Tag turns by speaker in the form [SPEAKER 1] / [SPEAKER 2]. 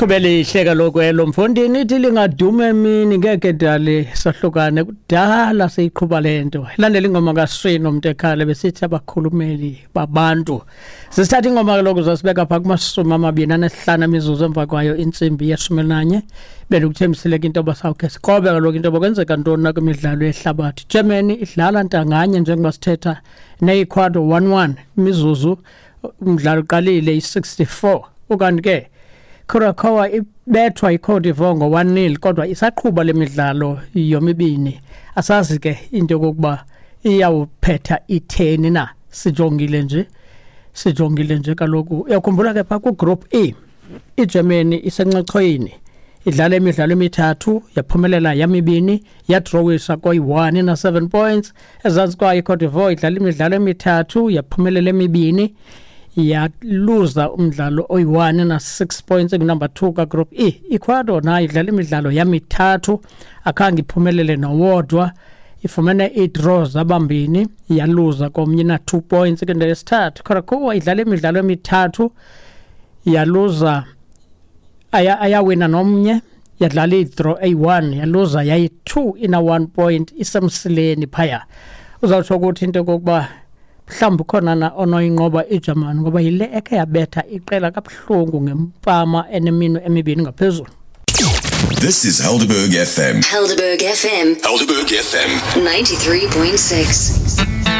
[SPEAKER 1] Lichube lihle kaloku elo mfondini, ithi lingadume emini ngeke dali sahlukane, kudala siyiqhuba le nto. Ilandela ingoma kaSwino Mntekhala besithi abakhulumeli babantu. Sisithatha ingoma kaloku zasibeka phaa kumashumi amabini anesihlanu emizuzu emva kwayo intsimbi yeshumi elinanye. Bendikuthembisile ke into yoba sawukhe sikrobe kaloku into yoba kwenzeka ntoni na kwimidlalo yehlabathi. Germany idlala ntanganye njengoba sithetha neEcuador 1-1 imizuzu umdlalo uqalile i-64. Ukanti ke Curacao ibethwa iCote d'Ivoire ngo-1-0 kodwa isaqhuba le midlalo yomibini. Asazi ke into yokokuba iyawuphetha itheni na. Sijongile nje, sijongile nje kaloku. Uyakhumbula ke phaa kugroup E, iGermany isencochoyini, idlala imidlalo emithathu, yaphumelela yamibini, yadrowisa koyi-1 ina-7 points. Ezantsi kwayo iCote d'Ivoire idlala imidlalo emithathu, yaphumelela emibini, yaluza umdlalo oyi-1 na-6 points, engunumber 2 kagroup E. Ecuador nayo idlala imidlalo yamithathu, akhange iphumelele nowodwa, ifumene iidraw zabambini, yaluza komnye na-2 points kwindawo yesithathu. Curacao idlala imidlalo emithathu, yaluza ayawina nomnye, yadlala idraw eyi-1, yaluza yayi-2 ina-1 point, isemsileni phaya. Uzawutsho ukuthi into yokokuba mhlawumbi khona na onoyinqoba iJamani, ngoba yile ekhe yabetha iqela kabuhlungu ngempama eneminwe emibini ngaphezulu.
[SPEAKER 2] This is Helderberg FM.
[SPEAKER 3] Helderberg FM.
[SPEAKER 2] Helderberg FM.
[SPEAKER 3] 93.6.